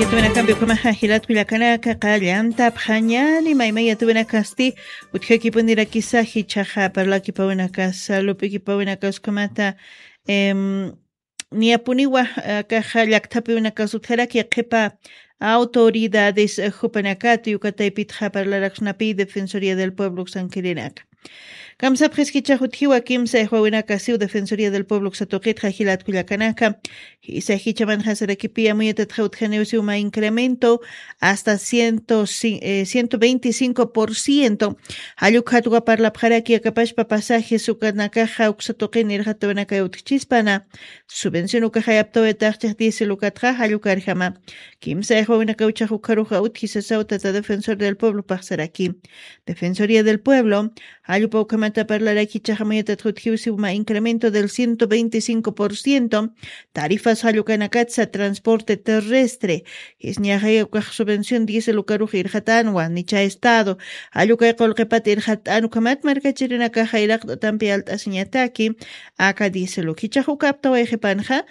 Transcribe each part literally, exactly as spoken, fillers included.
Yatuwinakampi ukhamaxa jilat kullakanaka qallantapxañani maymay yatuwinakasti utjakipunirakisa jichhaxa parlakipawinakas lup'ikipawinakaskamata em, niyapuniwa akaxa llakthapiwinakas utjaraki qhipa autoridades eh, jupanakat yukataypitxa parlaraksnapi defensoría del pueblo uksankirinaka. Kamsapxis jichhax utjiwa kimsa ixwawinakasiw defensoría del pueblo uksatuqitxa jilat kullakanaka. Jisa jichamanxa sarakipi amuyatatxa utjaniwsiw mä incremento hasta ciento veinticinco por ciento. Jallukxatwa parlapxaraki akapashpa pasajes ukanakaxa uksatuqin irxatawanakay utjchispana. Subvención ukaxayaptawayataxchix diésel ukatxa jallukarjama. Kimsa ixwawinakawchax ukharuxa utji sasaw tata defensor del pueblo paxsaraki. Defensoría del pueblo jallupa ukhamata parlarakichaxa mayatat jutjiwsiw mä incremento del ciento veinticinco por ciento. Tarifas jallukanakatsa transporte terrestre. Jisñaxay ukax subvención diésel ukarux irxatanwa nicha estado. Jallukay qulqipat irxat'an ukhamat markachirinakaxa iraqt'atampi alt'asiñataki aka diésel ukichax ukaptaway qhipanxa.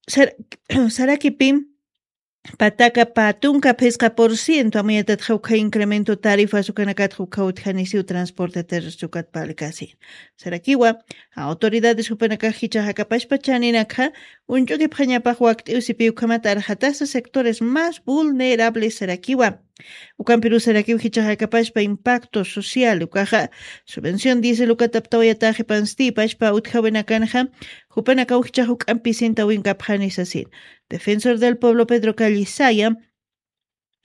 Sar- sarakipi pataka pä tunka phisqa por ciento amuyatatxa ukha incremento tarifas ukanakatxa ukha utjanisiw transporte terrestre ukat palkasi. Sarakiwa autoridades jupanakax jichhax akapashpa chaninakxa uñch'ukipxañapax wakt'iw sipi ukhamat arxatasa sectores más vulnerables sarakiwa. Ukampirusarakiw jichhax akapashpa impacto social ukaxa subvención diésel ukataptawayataxi panstipashpa utjawinakanxa jupanakaw jichhax juk'ampi sintawinkapxani sasin. Defensor del pueblo Pedro Callisaya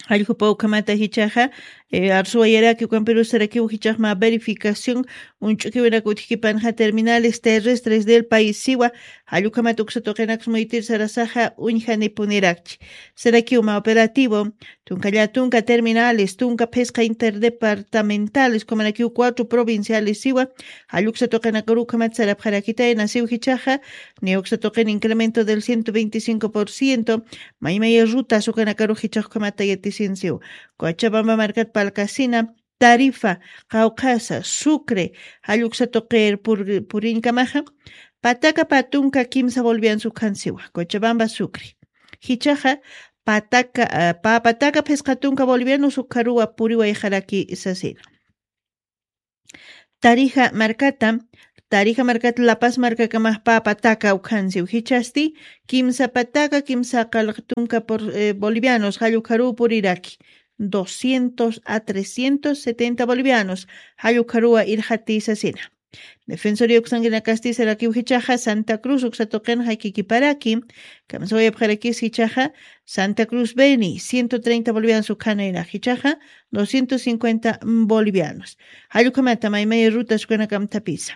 alljupa ukhamata jichhaxa arsuwayaraki ukampirusarakiw jichhax mä verificación uñch'ukiwinak utjkipanxa terminales terrestres del país siwa. Jallukhamat uksatuqinaks muytir sarasaxa uñjanipunirakchi. Sarakiw mä operativo tunka llatunka terminales tunka phisqa interdepartamentales kumanakiw cuatro provinciales siwa. Jalluksa tuqinakarukhamat sarapxarakitayna siw jichhaxa niwksa tuqin incremento del ciento veinticinco por ciento. Maymaya rutas ukanakarux jichhaxkhamata yatisinsiw. Cochabamba markat palkasina tarifa qawqhasa sucre jalluksa tuqir puriñkamaxa pataka pä tunka kimsa bolivianos ukhansiwa cochabamba sucre. Jichhaxa pataka pä pataka phisqa tunka bolivianos ukharuwa puriwayxaraki sasina. Tarija markata tarija markata lapas markakamax pä pataka ukhansiw jichhasti kimsa pataka kimsa qalq tunka bolivianos jallukharuw puriraki doscientos a trescientos setenta bolivianos jallukharuwa irxati sasina. Defensoría uksankinakasti sarakiw jichhaxa santa cruz uksa tuqinxa kikiparaki kamsawayapxarakis jichhaxa santa cruz beni ciento treinta bolivianos ukhanayrax jichhaxa doscientos cincuenta bolivianos. Jallukhamata maymaya rutas ukanakamtapisa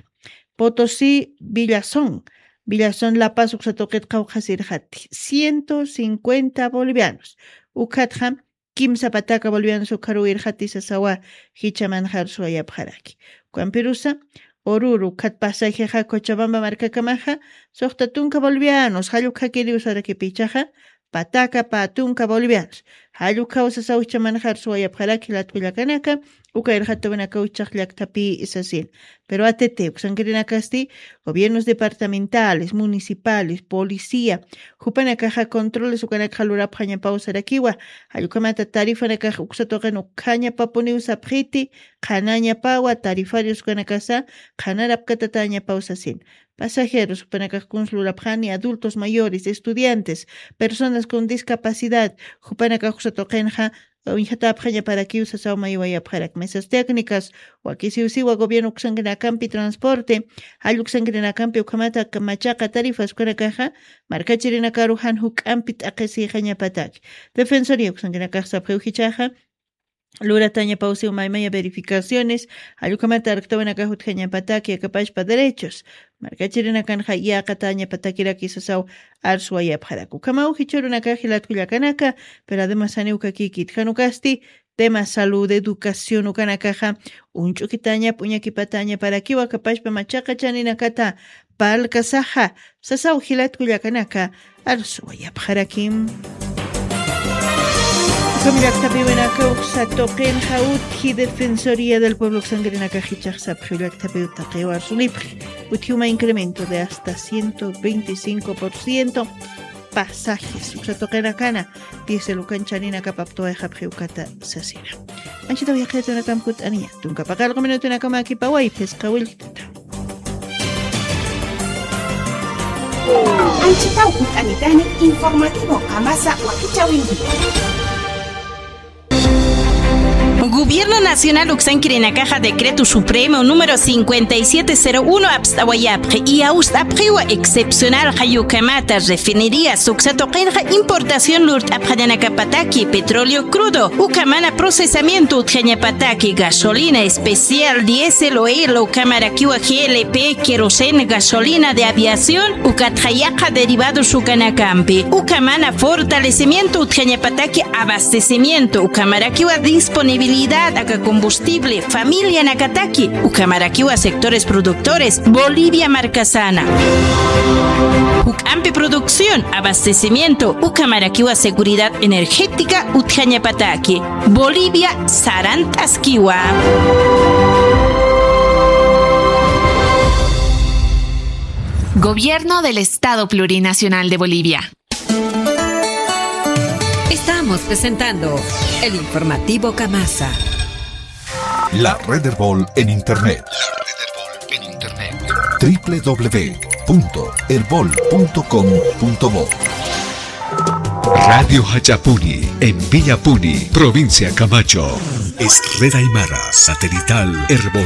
potosí villazón villazón lapas uksa tuqit qawqhasirxati ciento cincuenta bolivianos. Ukhatxa kimsa pataka bolivianos ukharuw irxati sasawa. Jichamanxa arsuwayapxaraki ukampirusa ururu ukhat pasajexa cochabamba markakamaxa suxta tunka bolivianos jallukxakiriw sarakipichaxa pataka pä tunka bolivianos jallukxaw sasaw jichamanxa arsuwayapxaraki latkullakanaka. Uka irxatawinakaw jichhax llakthapi sasin. Pero atete uksankirinakasti gobiernos departamentales municipales policía jupanakaxa controles ukanakxa lurapxañapaw sarakiwa. Jallukhamata tarifanakax uksa tuqin ukhañapapuniw sapxiti qhanañapawa tarifarios ukanakasa qhanarapkatatañapaw sasin. Pasajeros jupanakax kuns lurapxani adultos mayores estudiantes personas con discapacidad jupanakax uksa tuqinxa uñjatapxañaparakiw sasaw maywayapxarak mesas técnicas. Wakisiwsiwa gobierno uksankinakampi transporte jalluksankinakampi ukhamata machaqa tarifas ukanakaxa markachirinakaru jan juk'ampi t'aqhisixañapataki. Defensoría uksankinakax sapxiw jichhaxa luratañapawsiw maymaya verificaciones jallukhamata arktawinakax utjañapataki akapashpa derechos markachirinakanxa yaqatañapatakiraki sasaw. Arsuwayapxarak ukhamaw jichhurunakax jilatkullakanaka. Pero ademas janiw kakikit janukasti tema salud educación ukanakaxa uñch'ukitañap uñakipatañaparakiw akapashpa machaqa chaninakata parlkasaxa sasaw jilatkullakanaka. Arsuwayapxarakim. Ukham llaqtapiwinaka uksa tuqinxa utji defensoría del pueblo uksankirinakax jichhax sapxiw llaqtapiw taqiw arsunipxi utji uma incremento de hasta ciento veinticinco por ciento. pasajes, uksa tuqinakana, diésel ukan chaninakap aptawayxapxi ukata sasina. Anchhitaw yaqhitunakam kutt'aniya, tunka paqallqu minutunakama akipaway phisqa willk'tata. Anchhitaw kutt'anitani informativo Qamasa wakichäwinti. Gobierno Nacional uksankirinakaxa Decreto Supremo número cincuenta y siete cero uno apst'awayapxi, iyawst'apxiwa excepcional jayukamata refinerías uksa tuqinxa importación lurt'apxañanakapataki petróleo crudo, ukamana procesamiento utjañapataki gasolina especial, diésel, oil, ukamarakiwa G L P, queroseno, gasolina de aviación, ukatxa yaqha derivados ukanakampi, ukamana fortalecimiento utjañapataki abastecimiento, ukamarakiwa disponibilidad aka combustible familianakataki, ukamarakiwa sectores productores Bolivia markasana. Juk'ampi producción, abastecimiento, ukamarakiwa seguridad energética utjañapataki. Bolivia sarant'askiwa. Gobierno del Estado Plurinacional de Bolivia. Estamos presentando el informativo Qamasa. La Red Erbol en Internet. La Red Erbol en Internet. W W W punto erbol punto com punto bo. Radio Jach'apuni, en Villapuni, provincia Camacho. Es Red Aymara Satelital Erbol.